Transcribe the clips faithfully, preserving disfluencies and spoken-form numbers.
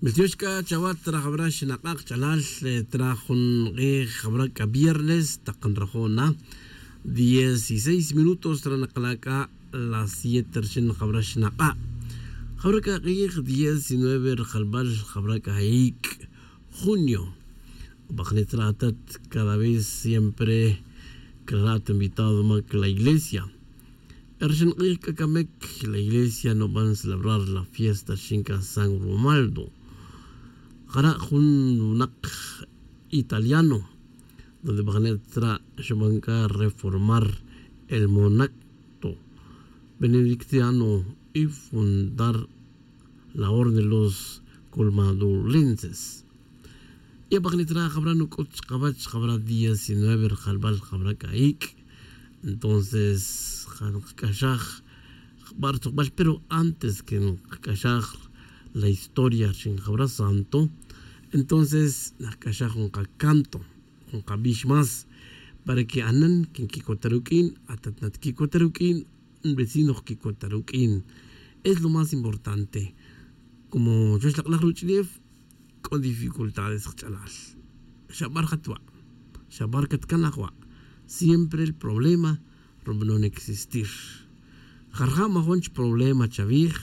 Miltiox c'a chawat trajawra xinak'a' kch'alal. Traj jun k'ij jawra c'a viernes tak nrajo' na dieciséis minutos ranakala' c'a las siete rixin jawra xinak'a'. Jawra c'a k'ij diecinueve rajalbal jawra c'a ic' junio. Bajnit ra atat cada vez siempre crara' ta invitado mac la iglesia. Rixin k'ij c'a camic la iglesia nuban celebrar la fiesta rixin c'a san romaldo. Jara' jun winak italiano donde bajnit ra' xuban c'a reformar el monacto benedictiano y fundar la orden de los colmadulenses. Y abajnit ra' jawra nuc'ut chkawech jawra diecinueve rajalbal jawra c'a ic'. Entonces ja nkac'axaj jba' rtzujbal pero antes que nkac'axaj la historia rixin jawra santo. Entonces najc'axaj jun kacanto jun kabix más para que anan que nquicota ruq'uin atat natquicota ruq'uin vecino jquicota ruq'uin. Es lo más importante. Como chuwech lak'laj ruch'ulef c'o dificultades kach'alal. Xabar jatwa', xabar catcanaj wa'. Siempre el problema rubanon existir. Jarja' majun chi problema chawij.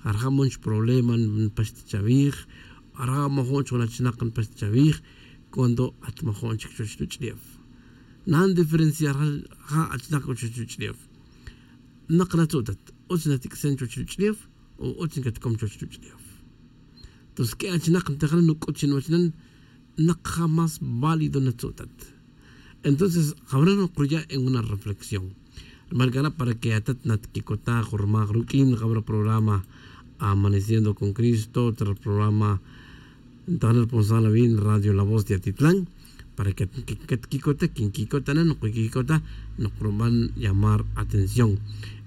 Jarja' majun chi problema npaxta chawij. Jarja' majun chi jun achinak npaxta chawij. Cuando at majun chic chuwech ruch'ulef nan diferenciar ja' achinak c'o chuwech ruch'ulef. Nak natzu'tat utz natic'sen chuwech ruch'ulef o utz ncatcom chuwech ruch'ulef. Tos q'ue achinak ntejan nuc'ut chi nuwech nan nak ja más válido natzu'tat. Entonces jawra nukruya' en una reflexión. Rmal c'ara' para que atat natquicota jun rmaj ruq'uin jawra programa amaneciendo con cristo ta programa ntajnel ponsal awin radio la voz de atitlan. Para que catquicota quinquicota na nukuquicota nukuruban llamar atención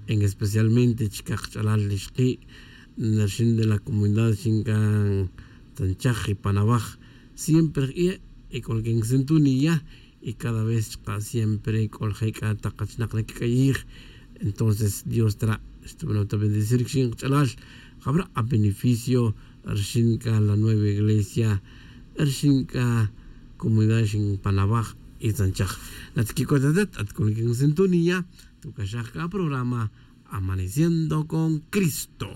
en especialmente chicaj kach'alal ixki' narxin de la comunidad xinca tanchaj y panawaj. Siempre jk'ie' y c'o la que nsintonía y cada vez chka' siempre c'o la jec'a tak achinak nacac'ayij. Entonces dios tra' xtubanon ta bendecir rixin kach'alal jawra' a beneficio rixin c'a la nueva iglesia rixin c'a comunidad rixin panawaj y tzanchaj. Natquicota atat at c'o la que nsintonía tucaxaj c'a programa amaneciendo con cristo.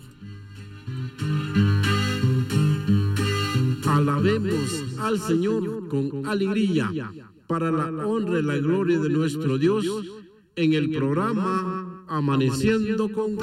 Alabemos al señor con alegría para la honra y la gloria de nuestro dios en el programa amaneciendo con